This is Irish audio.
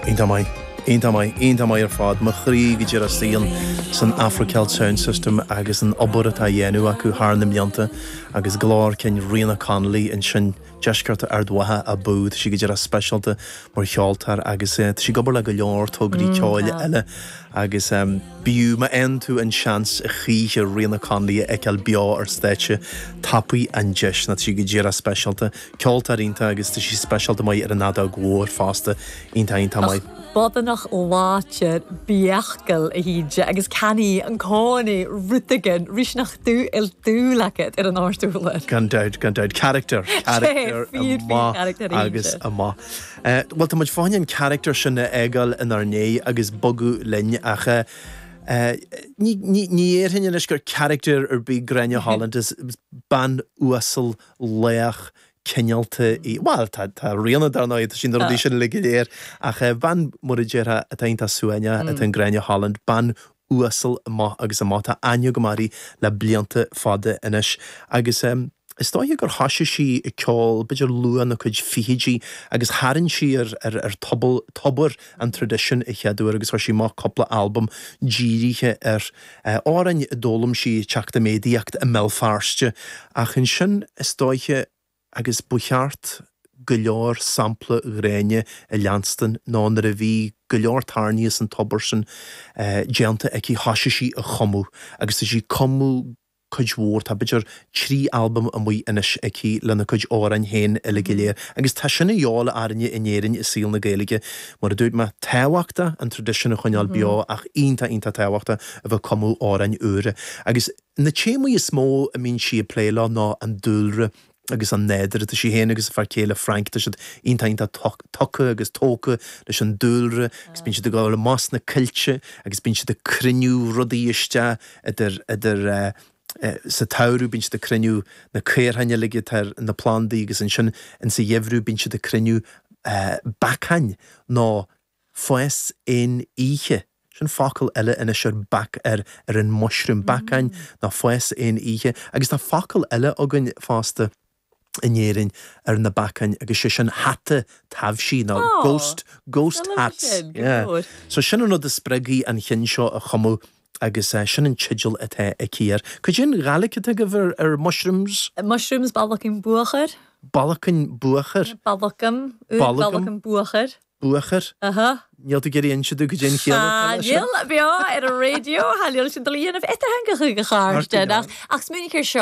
Iontach maith. Iontach maith. Iontach maith ar fad. Mo chroí go díreach istigh ansan Afro Celt Sound System agus an obair atá á dhéanamh acu thar na mblianta agus glór cinn Ríona Connolly ansin, deisceart Ard Mhacha abú. Tá sí go díreach speisialta mar cheoltóir agus tá sí ag obair le go leor tograí ceoil eile agus b'fhiú má fhaigheann tú an seans a choíche Ríona Connolly a fheiceáil beo ar stáitse, tapaigh an deis nó tá sí go díreach speisialta. Ceoltóir iontach agus tá sí speisialta maith ar an fheadóg mhór fosta. Iontach, iontach maith. Bodanach láidir beachgal a hÍde agus cannaí an cónaí rud éigin ríseanach dú il dúil agat ar an ardúlar. Gan dabht, gan dabht. Character, character amach agus amach. Bhuel, tá muid fá choinne an character sin a fhágáil inár ndiaidh agus bogadh linn ach ní dhéarfainn anois gur character ar bith Gráinne Holland, is bean uasal lách cineálta í. Bhuel, tá, tá Ríona dar ndóigh, tá sí na rudaí sin uilig go léir, ach bean, mar a déarfá, atá iontach suaimhneach, atá in Gráinne Holland, bean uasal amach agus amach, tá aithne agam uirthi le blianta fada anois agus is dóiche gur thoisigh sí ag ceol b'fhéidir luath ina cuid fichidí agus tharraing sí ar, ar, ar tobar, tobar an traidisiúin a chéad uair agus chuir sí amach cúpla albam dírithe ar amhráin a d'fhoghlaim sí ag teacht i méadaíocht i mBéal Feirste ach ansin is dóiche agus ba cheart go leor sampla Ghráinne a leanstan nó nuair a bhí go leor tairní as an tobar sin déanta aici thoisigh sí a chumadh agus tá sí ag cumadh cuid mhór, tá b'fhéidir 3 albam amuigh anois aici lena cuid amhráin féin uilig go léir agus tá sin a dhíobháil orainne in Éirinn i saol na Gaeilge. Mar a dúirt mé, tábhachtach an traidisiún a choinneáil beo ach iontach iontach tábhachtach a bheith ag cumadh amhráin úra. Agus na téamaí is mó a mbíonn sí ag plé leo ná an dúlra agus an nádúr. Tá sí féin agus a fear céile Frank, tá siad iontach iontach tugtha agus tógtha leis an dúlra agus bíonn siad ag dul amach sna coillte agus bíonn siad ag cruinniú rudaí isteach idir, idir sa tsamhradh bíonn siad ag cruinniú na caorthainn uilig atá ar na plandaí agus ansin insa gheimhreadh bíonn siad ag cruinniú beacáin nó fás aon oíche. Sin focal eile anois ar bac ar ar an mushroom, beacáin nó fás aon oíche. Agus tá focal eile againn fosta in Éirinn ar na beacáin agus sé sin hata taibhsí nó ghost, ghost hats. Yeah. So sin an rud a spreag í an cheann seo a chumadh agus sin an teideal atá aici air. Cad é an Ghaeilge atá agaibh ar ar mushrooms? Mushrooms, ballacan buachair. Ballacan buachair? Ballacam, ballacan buachair. Buachair? Aha. Níl tú ag iarraidh inse domh cad é an chiall atá leis sin? Níl, beo ar an raidió, tha leil sin dul a dhéanamh eatartheangacha go chairde, ach ach smaoinigh air seo.